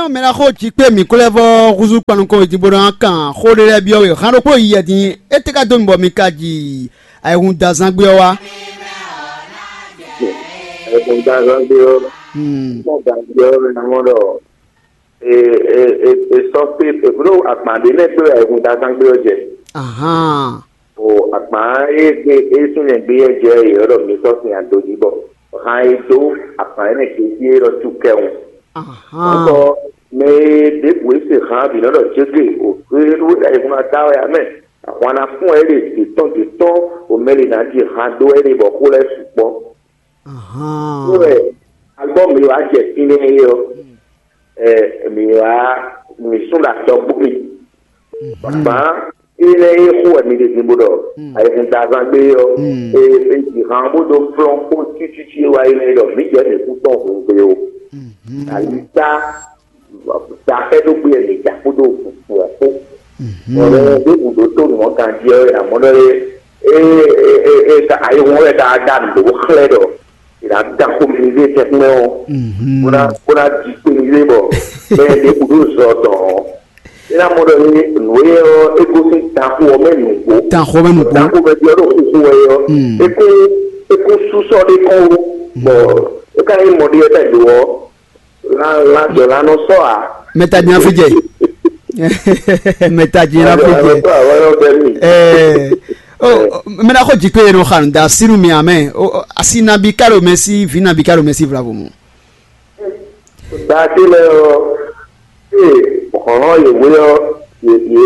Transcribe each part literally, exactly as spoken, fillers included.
Mɛ ná xo jǐ kpé mǐ kó lɛ́ vɔ́ húzú kpan nukɔn wědin bó ná kan xó ɖé lɛ́ɛ byɔ́ we. Hán ɖokpó yi yɛ din, é tɛ́ ka dó mi bɔ mi ka ji ayihún da zán gbé ɔ́ wá? Ayihún da zán gbé ɔ́, Hmm. Ayihún da zán gbé ɔ́, mɛ ná mɔ ɖɔ e e e e sɔ́ pé e bló agban ɖé nɛ́ gbé wɛ ayihún da zán gbé ɔ́ jɛ. Ahán. O agban e gbé e súnmɛ gbé yɛ jɛ yɛ ɖɔ mi sɔ́ sin ado jí bɔ hàn e dó agban e nɛ gbé jí e ɖɔ tú kɛwun. Ahán. Ŋkɔ mɛ e ɖěbǔ e se hàn bǐ nɔ ɖɔ jégé o e ɖó e ɖo ayihún ná da wɛ amɛ. Ahwan ná fún ɛ ɖe dě tɔn dě tɔn o mɛ lě ná ɖi hàn dó ɛ ɖe bɔ xó lɛ́ɛ sukpɔ́. Ahán. Wɛ alɔ mi wá jɛ fínɛ́ é ɔ́, ɛ mi wá mi sún ɖo atɔgbó mi. Gbǎn énɛ́ e xo wɛ mi ɖe din bó ɖɔ ayihún da zán gbé ɔ́, e e ji han bó dó flɔ́n xó cícící e wá yi nɛ́ ɖɔ mǐ jɛ mǐ kú tɔn hǔn gbe o. Alita da xɛ dó gbé wɛ mǐ ja kpódó hǔn kpó. Bɔlɛ ɖé gǔdo tó nǔ ɔ́ ganjí ɔ́, è nǎ mɔ ɖɔ é é é é ka ayihún ɔ́ wɛ ka da nǔ bó xlɛ́ ɖɔ è nǎ da xomɛ ní zé tɛnmɛ ɔ́ bó ná bó ná di kpe ní zé bɔ bɛɛ ɖě kúdó zɔ dɔn ɔ́. É ná mɔ ɖɔ ní nǔ e ɔ́ é gosín danxo ɔ́ mɛ nǔgbó. Danxo mɛ nǔgbó. Danxo mɛ ɖi ɔ́ ɖo xixo wɛ ɔ́. É kún é kún sú sɔ́ ɖé kɔn wó bɔ é ka nyí mɔ ɖé ɔ́ tɛ do ɔ́. Lan lan jɔ lan nɔ sɔ a? Mɛ ta jina fi jɛ. Mɛ ta jina fi jɛ. Ɛɛ, o mɛ na xɔ jikpe yɛ nɔ xa nu da sinu mi amɛ. O asi nabi kalo mɛ si vi nabi kalo mɛ si vlavo mu. Gbàtí lɛ ɔ ee hɔn yewé ɔ ye ye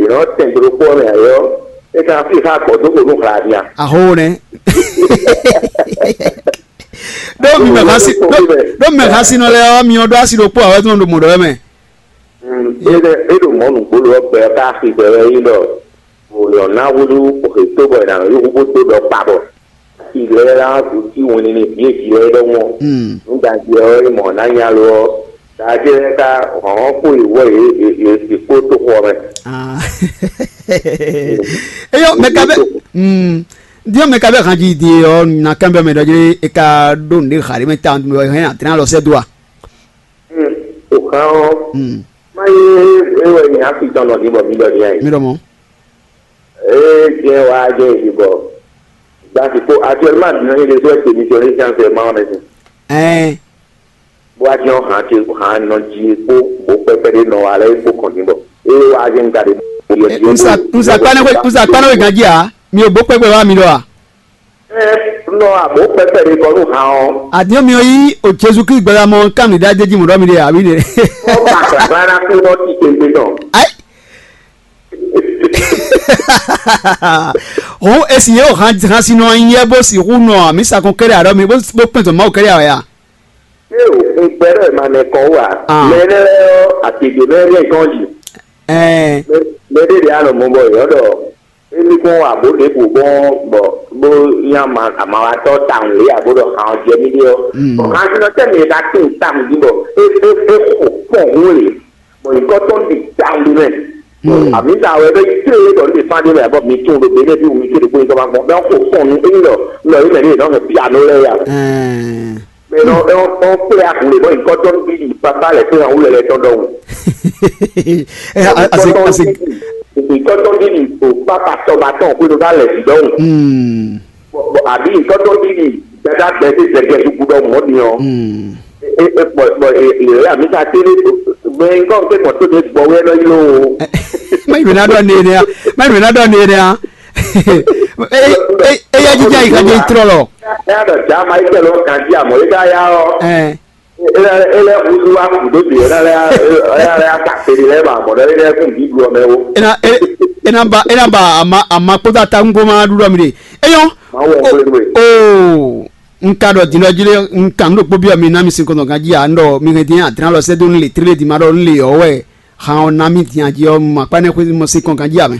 yɔn tɛn dro kpɔ mɛ ayɔ e ka fi xa gbɔ dó ko nu hla nia. Aho nɛ. Ɖó mi mɛ xasi ɖó mi mɛ xasi nɔ lɛ ɔ mi ɔ ɖó asi ɖokpó awɛ tó nɔ ɖo mɔ̌ ɖɔ wɛ mɛ. Ede eɖo mɔ̌ nǔgbó lɔ gbɛ ká axi gbɛ wɛ yí ɖɔ wòlɔ ná húzú òxè tó bɔ è nǎ yí húbó tó ɖɔ kpa bɔ asi lɛ lá dutí wɛn ní ní bíyèjì lɛ ɖɔmɔ nú dagbe ɔ́ é mɔ ná nya lo ɔ́ dagbe lɛ ká hɔn kó yi wɔ yě yě yě kpó tó xɔ mɛ. Eyɔ mɛ ka bɛ diɔ mɛ ka bɛ hanji di ɔ na kan bɛ mɛ dɔ dzi e ka ɖo nɖe xa ɖe mɛ ta mɛ hɛn atrɛn alɔ sɛ do a. O kan ɔ́ má nyí é wɛ nyi hafi tɔn nɔ din bɔ mi ɖɔ din ayi. Mi ɖɔ mɔ. Ee diɛ wa jɛ yi bɔ gbasi ko actuellement dina yi le sɔ temi sɔ ne sian sɛ ma ɔnɛ sin. Ɛɛ. Bó wá jẹ́ hàn ce hàn nɔ jí kpó bó pɛpɛ ɖé nɔ wa lɛ kpó kɔn din bɔ ee wa jẹ́ nka ɖe. Nsa nsa kpanɛ nsa kpanɛ wɛ ganji a mi ò bó pɛpɛ wa mi ɖɔ a. Ɛ nɔ abo pɛpɛ ɖe kɔ nú hàn ɔ́. Àdéhùn mi ò yí o Jésù Kristu gbɛdá mɔ kánú ìdá jẹjí mọ̀dọ́ mi ɖe àbí ɖe. Wọ́n bá gbàgbára kú lọ sí kéńté náà. Ayi. Hɔn esi yɛ o hàn hàn si nɔ anyi yɛ bó si hu nɔ mi sakɔn kɛɖɛ aɖɔ mi bó bó pɛn zɔn Mawu kɛɖɛ awɛ ya. Ṣé o ń gbẹ́rẹ́ ma nẹ kọ́ wà? Ah. Mẹ́rẹ́ àtẹ̀jẹ̀ mẹ́rẹ́ nǹkan yìí. Ɛɛ. Mẹ́rẹ́ de àná mọ́ bọ̀ yọ̀ dọ̀. Emi kún wà bó ɖě kò gbɔn bɔ bó nyí amawatɔ́ tawun lě abo ɖɔ hàn ɔ́ jɛ mì ɖe ɔ́. Bɔ hàn sinɔ tɛ́ mi e ka tín tawun jí bɔ é é é xo kpɔn hún lě. Bɔ nyǐkɔ tɔn ɖi tawun ɖi mɛ. Àmì ta wɛ bɛ tlé bɔ ní fán ɖé mɛ bɔ mi tún ɖo bɛ ní bí wù mí ké ɖokpó nyíkɔ ma gbɔn bɛ xo kpɔn nú éyí lɔ lɔ yí mɛ ní yě nɔ hɛn piano lɛ ya. Ɛɛ. Mɛ nɔ ɔ ɔ kplé agun lè bɔ nyǐkɔ tɔn bí di papa lɛ fún yahoo lɛ lɛ tɔn dɔwù. Ɛ a- ase ase Nyǐkɔ tɔn bí di o papa tɔba tɔn kó ló bá lɛ sí dɔwù. Hmm. Bɔ àbí nyǐkɔ tɔn bí di dada gbɛ sí zɛgɛ dúgbù dɔwù mɔ ni ɔ. Hmm. E e bɔ bɔ e e yà mí ta télé mɛ nyǐkɔ tɛ mɔ tó de gbɔ wɛ lɔ yí ló o. Má yìí na dɔ ne ne ya. Má yìí na dɔ ne ne ya. Eya jíjá yìí ká jẹ́ ìtrọ̀ lọ. Ẹ yà dọ̀ já Michael ɔ kan jí àmọ́ yìí ká yá ọ. Ẹ. Ẹ lẹ ẹ lẹ hudu wa kù dó bi ẹ lẹ ẹ lẹ aka pèlè lẹ ma mọ̀ lẹ ẹ lẹ kún bí du ọmọ ẹ wo. Ena e- ena ba ena ba ama ama kpódó ata ŋgó ma ɖuɖɔ mi ɖe. Eyɔn. Ma wọ o nkwele nwe. O nka ɖɔ din ɖɔ jí ɖe nka nu ɖokpó biɔ mi na mi sin kɔntɔn kan jí a ndɔ mi hɛn din adran lɔ sɛ do nu le tlé di ma ɖɔ nu le yɔ wɛ han ɔ na mi din a jí ɔ ma kpa ne xwé mo sin kɔn kan jí a mɛ.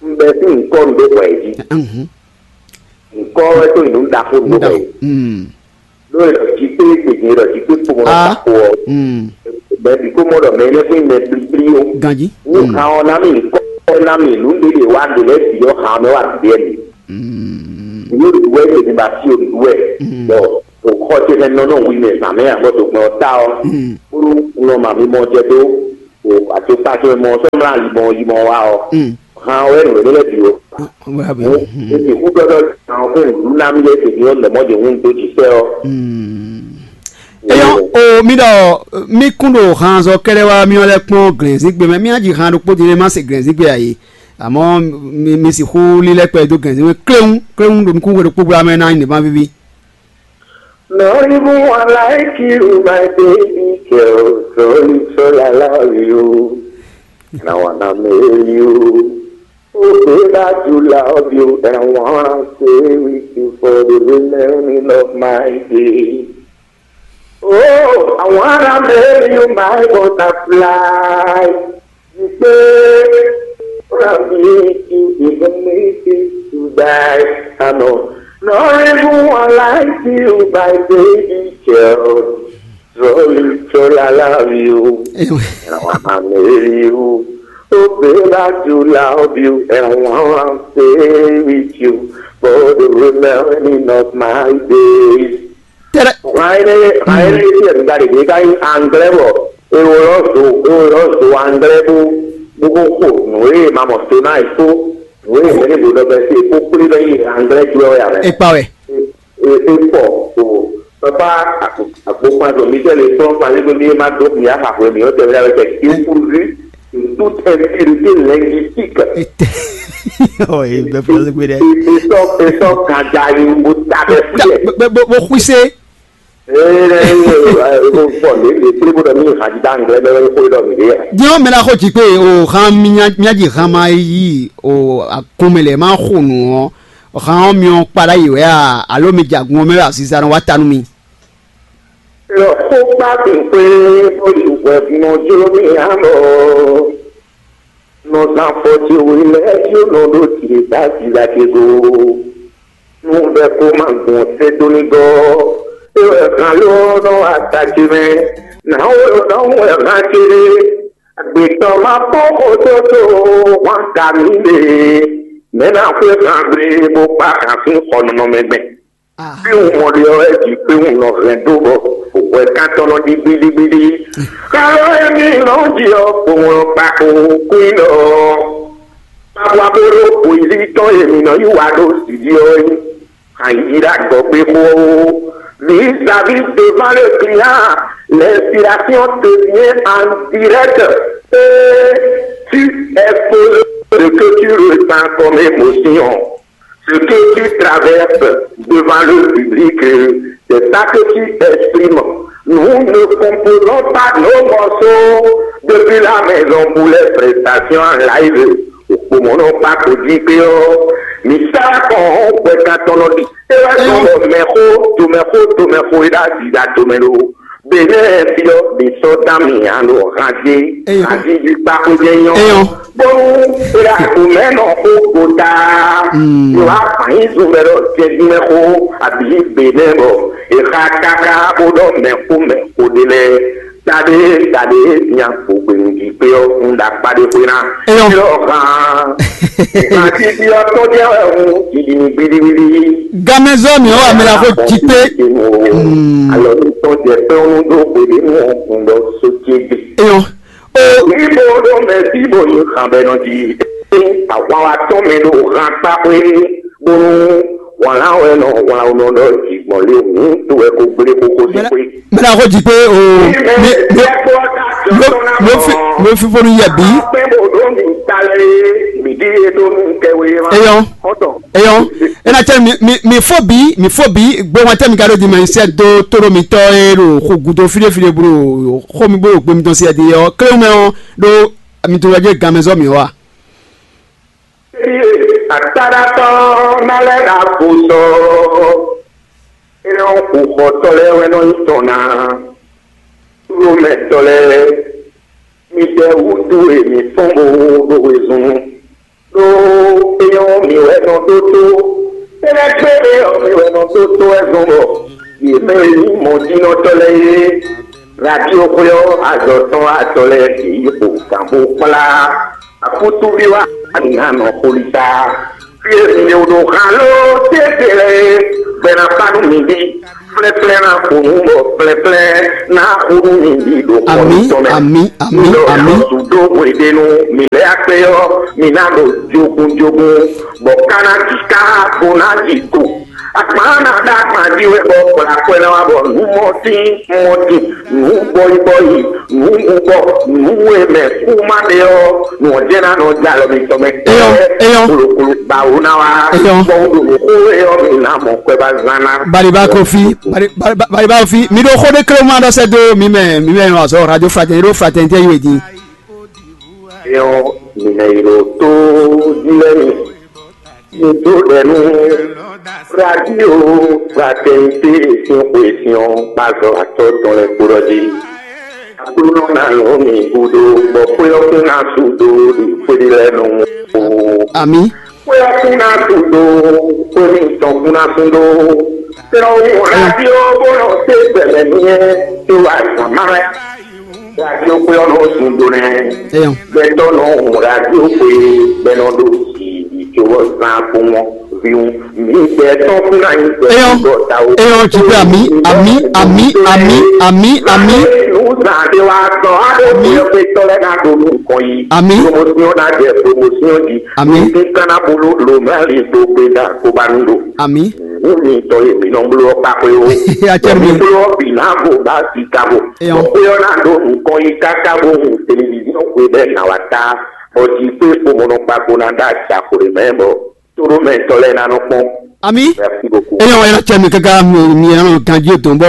N bɛ sí nǹkan ndo bọ̀ ẹ̀ jí. Nǹkan ẹ tó ìlú ń da fún gbogbo ẹ̀. Lórí lọ jí pé gbèjì lọ jí pé kpomọ lọ tako ọ. Bẹẹbi kó mọ lọ mẹ ní fún mẹ blíblí o. Ganji. Ní kan ọ námi nkọ námi ìlú ń délé wá délé bì ọ hàn mẹ wà bìí ẹ mi. Ìlú ìlú ẹ tèmi bá sí olùdú ẹ. Bọ òkọ tí ẹ nọ náà wí mẹ zàmẹ àbọ̀tò gbọ́n ọ tá ọ. Ó nɔ ma mi mɔ jɛ dó o ato kpató mɔ sɔ mla yi mɔ yi mɔ wa ɔ. Han wɛ nɔ wɛ lɛ bi o. Wɛ bi. Esi hu dɔdɔ han ko ndu na mi yɛ se mi ɔ lɛ mɔ de hun do ji sɛ ɔ. Eyɔn o mi ɖɔ mi kún ɖo hanzɔ kɛɖɛ wá mi ɔ lɛ kpɔn glɛnzigbe mɛ mi aji han ɖokpó din ma se glɛnzigbe ayi. Amɔ mi mi si xú lílɛ kpɛ dó glɛnzigbe kléwún kléwún ɖo nukún hwe ɖokpó gbla mɛ ná nyi nìbán víví. Not even one like you, my baby girl. Sorry, sorry, I love you. And I wanna marry you. Oh, babe, I do love you. And I wanna stay with you for the remaining of my days. Oh, I wanna marry you, my butterfly. You say, wanna meet you, even if it's to die. I know. Not even one like you, my baby girl. Sorry, sorry, I love you. And I wanna marry you. Oh, babe, I do love you. And I wanna stay with you for the remaining of my days. Tɛrɛ. Xayɛnɛ xayɛnɛ yɛ nígbà ɖe ka yí anglɛ bɔ ewolɔ zo ewolɔ zo anglɛ bó bó kó xo nǔ e ma mɔ so ná yi kó nǔ e mɛ ní bo dɔ bɛ se kó kplé bɛ yi anglɛ jú ɛ wɛ amɛ. Ekpa wɛ. E e pɔ o papa agbókun azo mi tɛ le sɔn kpa lé gbé mi ma dó mi axa hwɛ mi ɔtɛ mi la wɛ tɛ kí kúrú. Toute insécurité linguistique. Ɔ ye bɛ fɔlɔ se gbe dɛ. Esɔ esɔ kanda yi wo ta bɛ fi yɛ. Bɛ bɛ bɛ xwise. Ee ne ye ko fɔ ne ye kple bo dɔ mi ha di da nglɛ bɛ ko dɔ mi de yɛ. Diɔ mɛ la xo dzi kpe o han mi nya nya dzi han ma yi o akɔnmɛ lɛ ma xo nu ɔ han ɔ mi ɔ kpa ɖa yi wɛ a alo mi dza gun ɔ mɛ wɛ asisa nɔ wa ta nu mi. Lɔ xó kpá kpínkpé bó yi hwɛ̌ nɔ jló mì ǎ lɔ. Nɔ zán fɔ ce we lɛ́ɛ cí nɔ ɖó ce dó aziza ce go. Nú bɛ́ kó ma gbɔn sɛ́ dó ní gɔ́. É wɛ hán ló nɔ wá ta ce mɛ. Nǎ wɛ nɔ wɛ hán ce ɖé. Agbětɔ́ ma kpɔ́n xó tó tó hwan ka mì ɖe. Mɛ̌ ná xwé hán gblé bó kpá hǎn sín xɔ nɔnɔmɛ gbɛn? Bí un mɔ ɖe ɔ́, é ji kpé un nɔ hɛn dó bɔ hwɛ̌kántɔ́ nɔ ɖi gbíɖígbíɖí. Xá ɔ́ émí nɔ ji ɔ́, kpowun ɔ́ kpa kpowun kwín ɖɔ Pabwa bó ɖó bǒyízí tɔn e mǐ nɔ yí wa ɖó sǐ jí ɔ́ é. Ayǐ ɖo agɔ̌gbé xó ɔ́, vis-à-vis devant le client, l'inspiration te vient en direct et tu exposes ce que tu ressens comme émotion. Ce que tu traverses devant le public, c'est ça que tu exprimes. Nous ne composons pas nos morceaux depuis la maison pour les prestations en live. Òpòmọ́nà pa kò jí pé ọ́ mi sá kàn ọ́ pẹ̀ka tɔnɔ di. Ẹ wá sọ lọ mẹ́kó tó mẹ́kó tó mẹ́kó é dá dìda tó mẹ́ ló. Bɛnɛ fiɔ bi sɔ dami alo hanje Eyo. Hajiji kpako jɛ nyɔ. Eyo. Bonu ela kumɛ nɔ ko kota. Mm. Wa fayin zun bɛ dɔ jɛjumɛ ko abi bɛnɛ bɔ eha kaka bo dɔ mɛ ko mɛ ko de lɛ. Tade tade nya ko gbenu ji pe ɔ kun da kpa de ko na. Eyo. Yɔ han. Hajiji ɔ tɔ jɛ wɛ hun jiji ni gbidi gbidi. Gamɛzɔ mi wa mi la ko ji pe. Mm. Alɔ ni tɔn jɛ pé ɔnu dó gbede nù ɔkùn lɔ sókè gbé. Eyɔn. O. Ibo ɖo mɛ sí bo yi xan bɛ nɔ di. Ahwan wa tɔn mɛ ɖo han kpa xwé bonu wàlá wɛ nɔ wàlá wɛ nɔ ɖɔ jǐgbɔn lé hǔn tó wɛ ko gblé kókó sí xwé. Mɛ na ko dzi pé o. Mi mi mi mi fi mi fi fonu yɛ bi. Pé bo ɖo mi ta lɛ mi di e ɖo mi kɛ wé ma. Eyɔn. Eyɔn, ena cɛ mi mi mi fo bi mi fo bi gbɔn tɛ mi ka ɖo di ma sɛ do toro mi tɔ e ɖo xo gudo fide fide blo xo mi blo gbe mi tɔn si ɛdi ɔ kle mɛ ɔ ɖo mi to wɛ dze gan mɛ zɔ mi wa. Ataɖatɔ na lɛ ɖa ko sɔ. Ena xo xɔtɔ lɛ wɛ nɔ nyi tɔn na. Lomɛtɔ lɛ mi ɖe wútu e mi fɔn bo ɖo wezun. Ɖó éyɔ́ mi wɛ nɔ ɖótó, énɛ́ kpé éyɔ́ mi wɛ nɔ ɖótó wɛ zɔn bɔ yě mɛ e nyí mɔjínɔtɔ́ lɛ́ɛ é, radio xwé ɔ́, azɔ̌ tɔn atɔ lɛ́ɛ bǐ yi xo gǎn bó kplá akútúví wá ná nɔ xolisa. Fí e mi ɖo ɖo han ló téte lɛ́ɛ é, gbɛ ná kpá nú mi bí. Plɛ́plɛ́ ná xo nú bɔ plɛ́plɛ́ ná xo nú mi ɖi ɖo xɔ Ami, mitɔn mɛ. Ami, ami, Mi ɖɔ ami. Xɔsu dó hweɖénu, mi lɛ́ akpé ɔ́, mi ná ɖo jogun jogun, bɔ ká ná ji ká, bo ná ji ko. Akpán ná ɖó akpán jí wɛ bɔ kplá akwɛ́ ná wá bɔ nǔ mɔtín mɔtín, nǔ bɔyibɔyi, nǔ bubɔ, nǔ e mɛ kú má ɖe ɔ́, nǔ ɔ́ jɛ́n ná nɔ jɛ alɔ mitɔn mɛ. Eyɔ́, eyɔ́. Kplokplo bawo ná wá. Eyɔ́. Bɔ wó ɖo nǔ xó e ɔ́ mi ná mɔ kwɛ ba zán ná. Baliba Kofi, Bali-, Bali-, Bali-, Baliba Kofi, mi ɖo xó ɖé klé ma ɖɔ sɛ́ dó mi mɛ, mi mɛ nɔ azɔ radio fraternité, ɖo fraternité yi wɛ din. Eyɔ́, mi mɛ yi ɖo tó jí lɛ́ mi. Mi dó ɖɛ nú radio fraternité sín xwe sín ɔ́, kpázɔ atɔ́ tɔn lɛ́ɛ kpo ɖɔ jí. Aklúnɔ ná nǔ mi gúdo, bɔ xwé ɔ́ kún ná sú dó ɖi xwé ɖé lɛ́ɛ nú. Ami. Xwé ɔ́ kún ná sú dó, xwé mitɔn kún ná sú dó. Tɛ́nɔ́ wú radio bó nɔ sé gbɛmɛ myɛ tó wá zǎn má wɛ. Radio xwé ɔ́ nɔ sú dó nɛ́. Eyɔ́. Gbɛtɔ́ nɔ hun radio xwé bɛ́ nɔ ɖo jǐ cóbɔ zán kpɔ́nmɔ vǐwun. Mi gbɛtɔ́ kún ná nyí Eyɔ́. Gbɛtɔ́ tawo. Eyɔ́, tu pé ami, ami, ami, ami, ami, ami. Nǔzán ɖé wá sɔ abo Ami. Xwé ɔ́ xwé tɔ́ lɛ́ɛ ná ɖo nukɔn yi. Ami. Promotion ná jɛ promotion jí. Ami. Ní ká ná boló lomali tó gbé dá kó bá nú ɖo. Ami. Nǔ mitɔn e mǐ nɔ bló ɔ́ kpa xwé ó. Acɛ mi. Mǐ bló ɔ́ bǐ ná vo bá si ka vo. Eyɔ́. Bɔ xwé ɔ́ ná ɖo nukɔn yi káká bó hun televizíɔn xwe bɛ́ ná wá tá. Bɔ jí pé kpomɔnɔ kpakpo ná ɖó aca xo ɖé mɛ bɔ tóɖómɛtɔ́ lɛ́ɛ ná nɔ kpɔ́n. Ami. Merci beaucoup. Eyɔ́, ɛ ná cɛ mi káká mi, mi ɛ nɔ ganjí o tɔn bɔ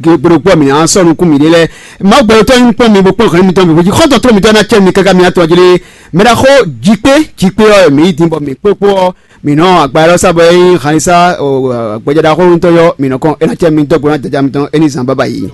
gbeɖokpɔ mi ná sɔ nukún mi ɖé lɛ. Má gbɛɖotɔ nyí kpɔ́n mi bó kpɔ́n xɛn mitɔn mi bó jí xɔ́ntɔn tló mitɔn ná cɛ mi káká mi atɔn jí lé. Mɛ ɖaxó jí pé, jí pé ɔ́ mi yi dín bɔ mi kpó kpó ɔ́. Mi nɔ agba élɔ́ sá bɔ é nyí xanisa gbɛjɛ ɖaxó ŋutɔn yɔ, mi nɔ kɔn é ná cɛ mi dɔgbo ná jaja mitɔn é ní zan bábá yi.